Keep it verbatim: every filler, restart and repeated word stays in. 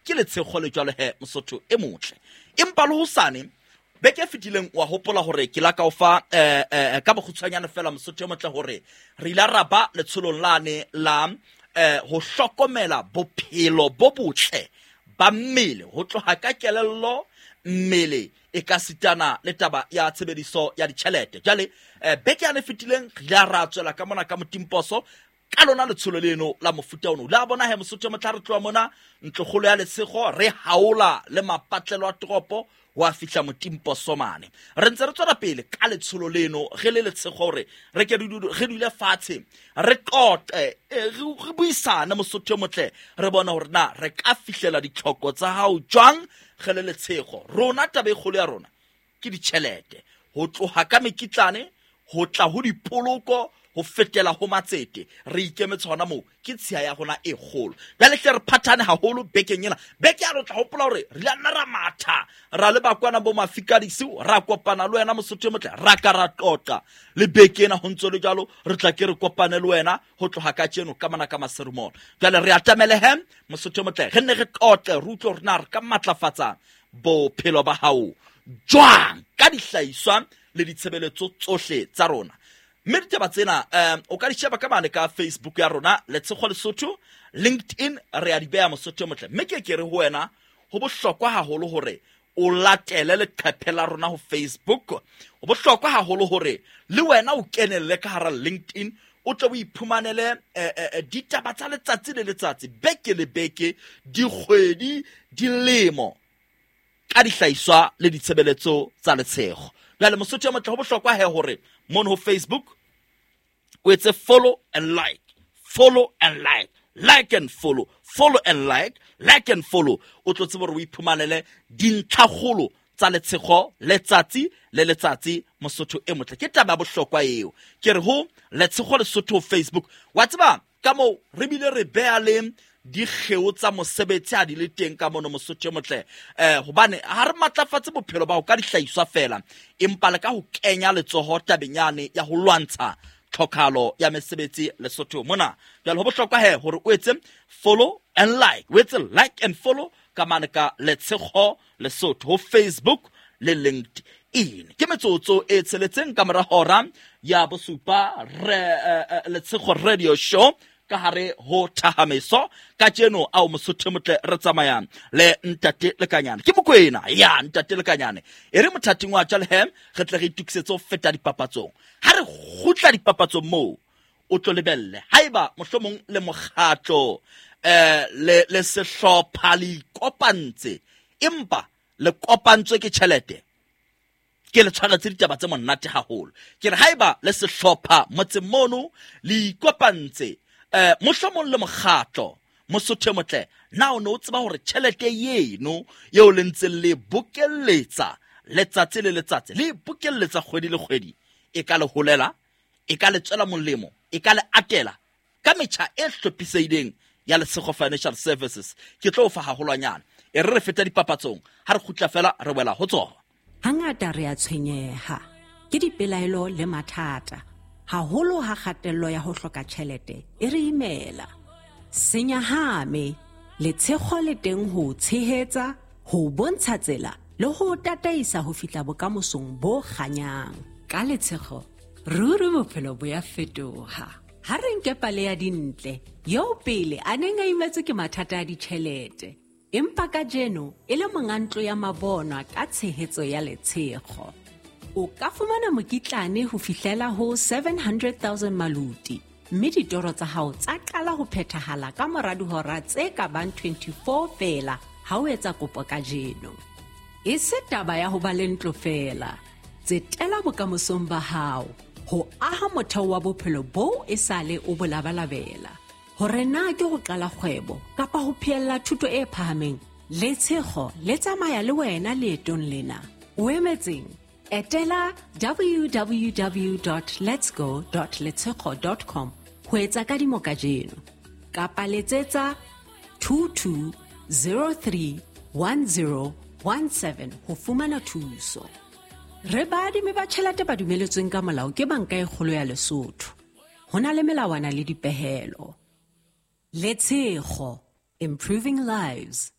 Ke letshego le jwalo he Mosotho e motle. Empa le hosane beke e fetileng wa hopola hore ke la ka o fa eh, eh, ka bokgutshwanyane fela Mosotho e motle hore re ile ra ba letsholong lane la eh, ho hlokomela bophelo bo botle ba mmele ho tloha ka kelello mmele e ka sitana le taba ya tshebediso ya ditjhelete. Jwale eh, beke yane e fetileng re ile ra tswela ka mona ka Motimposo ka lona letsholo leno la mofuta ono. La bona he Mosotho e motle, re tloha mona ntlokgolo ya Letshego re haola le mapatlelo a toropo wa fihla Motimposo mane. Re ntse re tswela pele ka letsholo leno re le Letshego hore re ke re dule fatshe re qoqe, eh, re buisane Mosotho e motle, re bone hore na re ka fihlela ditlhoko tsa hao jwang re le Letshego. Rona taba e kgolo ya rona ke ditjhelete, ho tloha ka mekitlane ho tla ho dipoloko ho fetela ho matsete. Re ikemetse hona moo, ke tshiya ya rona e kgolo. Jwale hle re phathane haholo bekeng ena. Beke ya re tla hopola hore re ile nna ra matha ra le bakwana bo Mafikadisi, ra kopana le wena Mosotho e motle, ra ka ra qoqa le beke ena ho ntso le jwalo. Re tla ke re kopane le wena ho tloha ka tjeno ka mona ka Maseru Mall. Jwale re atamele he Mosotho e motle, re nne re qoqe re utlwe hore na re ka matlafatsa bophelo ba hao jwang ka dihlahiswa le ditshebeletso tsohle tsa rona. Mme ditaba tsena um o ka di sheba ka mane ka Facebook ya rona Letshego Lesotho, LinkedIn re a di beha Mosotho e motle. Mme ke ke re ho wena ho bohlokwa haholo hore o latele leqephe la rona ho Facebook. Ho bohlokwa haholo hore le wena o kenelle ka hara LinkedIn, o tle o iphumanele eh, eh, ditaba tsa letsatsi le letsatsi, beke le beke, dikgwedi, dilemo ka dihlahiswa le ditshebeletso tsa Letshego. Jwale Mosotho e motle, ho bohlokwa he hore mono ho Facebook o etse follow and like, follow and like, like and follow, follow and like, like and follow. O tlo tsebe hore o iphumanele dintlhakgolo tsa Letshego letsatsi le letsatsi Mosotho e motle. Ke taba ya bohlokwa eo. Ke re ho Letshego Lesotho Facebook. Wa tseba ka moo re bile re beha le dikgeo tsa mosebetsi ha di le teng ka mono Mosotho e motle, eh hobane ha re matlafatse bophelo ba ho ka dihlahiswa fela, empa le ka ho kenya letsoho tabeng yane ya ho lwantsha tlhokahalo ya mesebetsi Lesotho mona. Jwale ho bohlokwa he hore o etse follow and like, o etse like and follow ka mane ka Letshego Lesotho ho Facebook le LinkedIn. Ke metsotso e tsheletseng ka mora hora ya bosupa re eh, Letshego Radio Show ka hare ho Thahameso. Kajeno ao Mosotho e motle re tsamayang le Ntate Lekanyane. Ke Mokwena ya Ntate Lekanyane. E re mothating wa tjale he re tle re itukisetse ho feta dipapatsong. Ha re kgutla dipapatsong moo o tlo lebelle haeba mohlomong le mokgatlo eh le le sehlopha le ikopantse, empa le kopantswe ke tjhelete. Ke le tshwaretse ditaba tse monate haholo. Ke re haeba le sehlopha motseng mono le ikopantse eh mohlomong le mokgatlo Mosotho e motle, na o ne o tseba hore tjhelete eno eo le ntseng le bokelletsa letsatsi le letsatsi, le bokelletsa kgwedi le kgwedi, e ka le holela, e ka le tswela molemo, e ka le atela ka metjha e hlophisehileng ya Letshego Financial Services. Ke tlo o fa haholwanyane. E re re feta dipapatsong, ha re kgutla fela re wela ho tsona. Hangata re a tshwenyeha ke dipelaelo le mathata, haholo ha kgatello ya ho hloka tjhelete e re imela. Senyahame, Letshego le teng ho tshehetsa, ho bontsha tsela le ho tataisa ho fihla bokamosong bo kganyang. Ka Letshego, ruri bophelo bo ya fetoha. Ha re nke pale ya Dintle, eo pele a neng a imetswe ke mathata a ditjhelete, empa kajeno e le monga ntlo ya mabonwa ka tshehetso ya Letshego. O ka fumana mokitlane ho fihlela ho seven hundred thousand maluti, mme ditoro tsa hao tsa qala ho phethahala ka mora dihora tse ka bang twenty-four feela ha o etsa kopo kajeno. E se taba ya ho ba le ntlo feela, tsetela bokamosong ba hao ho aha motheo wa bophelo boo esale o bo labalabela. Hore na ke ho qala kgwebo kapa ho phehella thuto e phahameng, Letshego le tsamaya le wena leetong lena. O emetseng? Etela w w w dot letsgo dot letshego dot com ho etsa kadimo kajeno, kapa letsetsa two two zero three one zero one seven ho fumana thuso. Re baadimi ba tjhelete ba dumeletsweng ka molao ke Banka e Kgolo ya Lesotho. Ho na le melawana le dipehelo. Letshego, improving lives.